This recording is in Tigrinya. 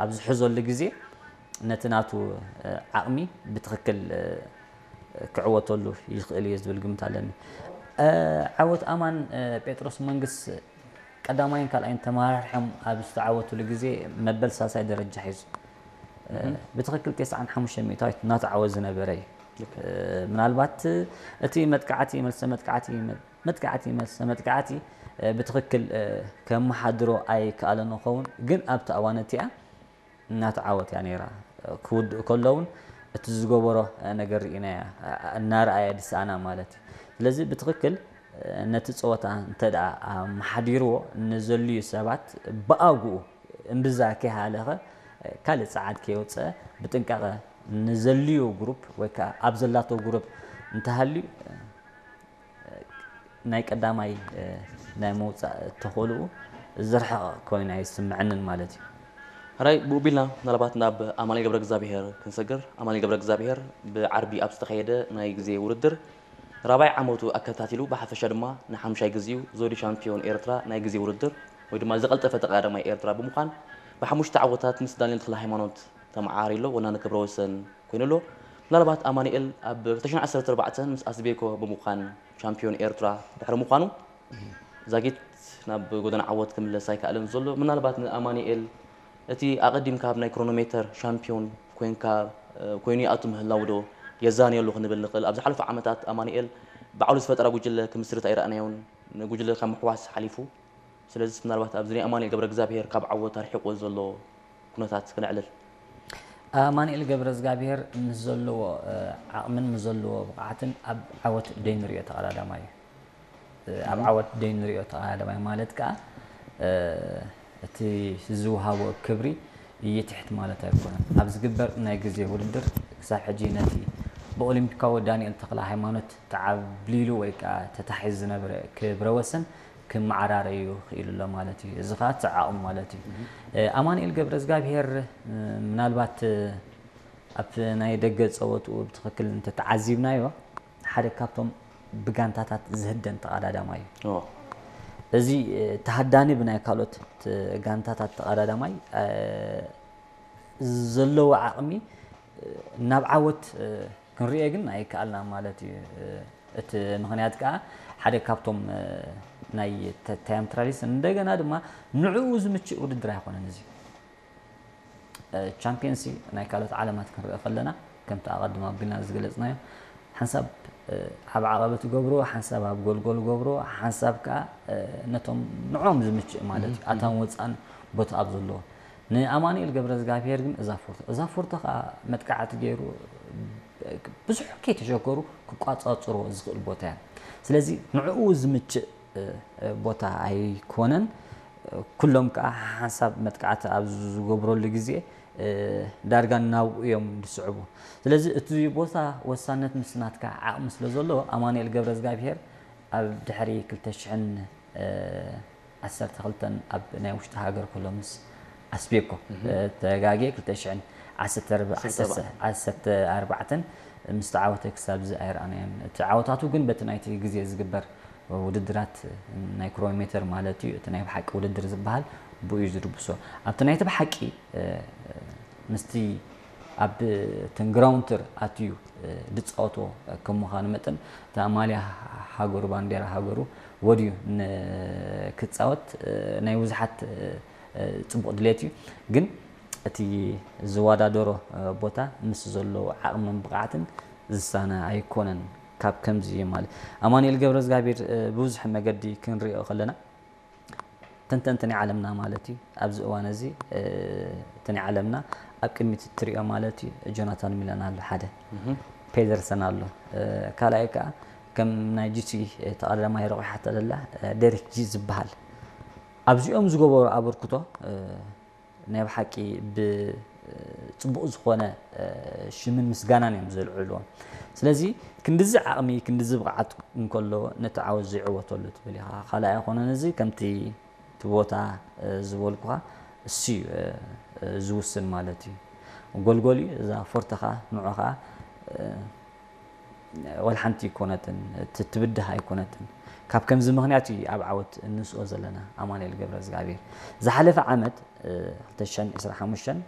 ኣብ ዝሕዘሉ ግዜ ነቲ ናቱ ዓቕሚ ብትኽክል ክዕወተሉ ይኽእል እዩ ዝብል ግምት ኣለኒ። ዓወት ኣማን ጴጥሮስ መንግስ ቀዳማይን ካልኣይን ተመራርሖም ኣብ ዝተዓወትሉ ግዜ መበል ሳልሳይ ደረጃ ሒዙ ብትኽክል ተስዓን ሓሙሽተ ሚእታዊት እናተዓወት ዝነበረ እዩ። ምናልባት እቲ መጥቃዕቲ መልሰ መጥቃዕቲ መጥቃዕቲ መልሰ መጥቃዕቲ ብትኽክል ከመሓድሮ ኣይከኣለን ይኸውን፣ ግን ኣብቲ እዋን እቲኣ እናተዓወት እያ ነይራ። ክውድእ ከሎ እውን እቲ ዝገበሮ ነገር ርኢናያ እናረኣየ ድስኣና ማለት እዩ። ስለዚ ብትኽክል ነቲ ፀወታ እንተ ደኣ ኣመሓዲርዎ ንዘልዩ ሰባት ብኣግኡ እምብዛ ከይሃለኸ ካልእ ጸዓት ከየውፀ ብጥንቃቐ ንዘልዩ ግሩፕ ወይ ከዓ ኣብ ዘላቶ ግሩፕ እንተሃልዩ ናይ ቀዳማይ ናይ ምውፃእ ተኽእልኡ ዝርሕቕ ኮይኑ ኣይስምዐንን ማለት እዩ። ሕራይ ብኡ ቢልና ምናልባት ናብ ኣማኑኤል ገብረ እግዚኣብሔር ክንሰግር። ኣማኑኤል ገብረ እግዚኣብሔር ብዓርቢ ኣብ ዝተኻየደ ናይ ግዜ ውድድር ራብዓይ ዓመቱ ኣከታቲሉ ብሓፈሻ ድማ ንሓምሻይ ግዜኡ ዘውዲ ሻምፒዮን ኤርትራ ናይ ግዜ ውድድር ወይ ድማ ዝቐልጠፈ ተቐዳዳማይ ኤርትራ ብምዃን ብሓሙሽተ ዓወታት ምስ ዳንኤል ተኽለሃይማኖት ተመዓራሪ ኣሎ፣ ወናኒ ክብረ ወሰን ኮይኑ ኣሎ። ምናልባት ኣማኑኤል ኣብ ክልተ ሽሕን ዓሰርተ ኣርባዕተን ምስ ኣስቤኮ ብምዃን ሻምፒዮን ኤርትራ ድሕሪ ምዃኑ ዛጊት ናብ ጎደና ዓወት ክምለስ ኣይከኣለን ዘሎ። ምናልባት ንኣማኑኤል እቲ ኣቐዲምካ ኣብ ናይ ክሮኖሜተር ሻምፒዮን ኮይንካ ኮይኑ ይኣቱ ምህላው ዶ የዛንየሉ ክንብል ንኽእል? ኣብ ዝሓለፉ ዓመታት ኣማኑኤል ባዕሉ ዝፈጠራ ጉጅለ ክምስርት ኣይረኣናዮን። ንጉጅለ ካብ ምሕዋስ ሓሊፉ ስለዚስ ምናልባት ኣብዚ ናይ ኣማኑኤል ገብረእግዚኣብሄር ካብ ዓወት ኣርሒቕዎ ዘሎ ኩነታት ክነዕልል። ኣማኑኤል ገብረእግዚኣብሄር ምስ ዘለዎ ዓቕምን ምስ ዘለዎ ብቕዓትን ኣብ ዓወት ደይንሪኦ ተቐዳዳማይ እዩ። ኣብ ዓወት ደይንሪኦ ተቐዳዳማይ ማለት ከኣ እቲ ዝወሃቦ ክብሪ ይትሕት ማለት ኣይኮነን። ኣብ ዝግበር ናይ ግዜ ውድድር ክሳብ ሕጂ ነቲ ብኦሊምፒካዊ ዳንኤል ተኽለሃይማኖት ተዓብሊሉ ወይ ከኣ ተታሒዙ ዝነበረ ክብረ ወሰን ክመዓራረዩ ክኢሉ ኣሎ ማለት እዩ። እዚ ኸኣ እቲ ዓቕሙ ማለት እዩ። ኣማኑኤል ገብረእዝጋብሄር ምናልባት ኣብቲ ናይ ደገ ጸወትኡ ብትኽክል እንተተዓዚብናዮ ሓደ ካብቶም ብጋንታታት ዝህደን ተቐዳዳማይ እዩ። እዚ ተሃዳኒ ብናይ ካልኦት ጋንታታት ተቐዳዳማይ ዘለዎ ዓቕሚ ናብ ዓወት ክንሪኦ ግን ኣይከኣልና ማለት እዩ። እቲ ምኽንያት ከኣ ሓደ ካብቶም ናይ ታይም ትራያሊስት እንደገና ድማ ንዕኡ ዝምችእ ውድድር ኣይኮነን እዚ። ቻምፒየንሲ ናይ ካልኦት ዓለማት ክንሪኦ ከለና ከምቲ ኣቐድም ኣቢልና ዝገለፅናዮ ሓንሳብ ኣብ ዓቐበት ገብርዎ፣ ሓንሳብ ኣብ ጎልጎል ገብርዎ፣ ሓንሳብ ከኣ ነቶም ንዕኦም ዝምችእ ማለት እዩ ኣታን ወፃእን ቦታ ኣብ ዘለዎ ንኣማኑኤል ገብረዝጋብሄር ግን እዛ ፎርቶ እዛ ፎርቶ ከኣ መጥቃዕቲ ገይሩ ብዙሕ ከይተሸገሩ ክቋፃፅርዎ ዝኽእል ቦታ እያ። ስለዚ ንዕኡ ዝምችእ ቦታ ኣይኮነን። ኩሎም ከኣ ሓንሳብ መጥቃዕቲ ኣብ ዝገብረሉ ግዜ ዳርጋ ናብኡ እዮም ዝስዕቡ። ስለዚ እቲ ቦታ ወሳነት ምስ ናትካ ዓቕሚ ስለ ዘለዎ ኣማኑኤል ገብረዝጋብሄር ኣብ ድሕሪ ክልተ ሽሕን ዓሰርተ ክልተን ኣብ ናይ ውሽጢ ሃገር ከሎ ምስ ኣስቤኮ ተጋግየ ክልተ ሽሕን ዓሰርተ ኣርባዕተን ምስ ተዓወተ ክሳብ እዚ ኣይረኣናዮን። እቲ ዓወታቱ ግን በቲ ናይቲ ግዜ ዝግበር ውድድራት ናይ ክሮኖሜተር ማለት እዩ እቲ ናይ ብሓቂ ውድድር ዝበሃል ብኡ እዩ ዝድብሶ። ኣብቲ ናይቲ ብሓቂ ምስቲ ኣብ ትንግራውንትር ኣትዩ ዝፃወቶ ከም ምዃኑ መጠን እታ ማልያ ሃገሩ ባንዴራ ሃገሩ ወድዩ ክፃወት ናይ ብዙሓት ፅቡቕ ድሌት እዩ። ግን እቲ ዝወዳደሮ ቦታ ምስ ዘለዎ ዓቕምን ብቕዓትን ዝሳነ ኣይኮነን። ካብ ከምዚ ማለት ኣማኑኤል ገብረዝጋቢር ብብዙሕ መገዲ ክንሪኦ ከለና ተንተንቲ ናይ ዓለምና ማለት እዩ ኣብዚ እዋን እዚ እቲ ናይ ዓለምና ኣብ ቅድሚት እትሪኦ ማለት እዩ ጆናታን ሚላን ኣሎ ሓደ ፔደርሰን ኣሎ ካልኣይ ከዓ ከም ናይ ጂሲ ተቐዳዳማይ ረቑሓቶ ዘላ ደሪክ ጂ ዝበሃል ኣብዚኦም ዝገበሩ ኣበርክቶ ናይ ብሓቂ ብፅቡቕ ዝኾነ ሽምን ምስጋናን እዮም ዘልዕልዎ። ስለዚ ክንድዚ ዓቕሚ ክንድዚ ብቕዓት እንከሎ ነቲ ዓወት ዘይዕወተሉ ትብል ኢኻ። ካልኣይ ኣይኮነን እዚ ከምቲ እቲ ቦታ ዝበልኩኻ እሱ እዩ ዝውስን ማለት እዩ። ጎልጎል እዩ እዛ ፎርተኻ ንዑኻ ወላ ሓንቲ ኣይኮነትን፣ እቲ ትብድህ ኣይኮነትን። ካብ ከምዚ ምኽንያት እዩ ኣብ ዓወት እንስኦ ዘለና። ኣማኑኤል ገብረ እግዚኣብሔር ዝሓለፈ ዓመት እ፣ ክልተ ሽሕን ዕስራን ሓሙሽተን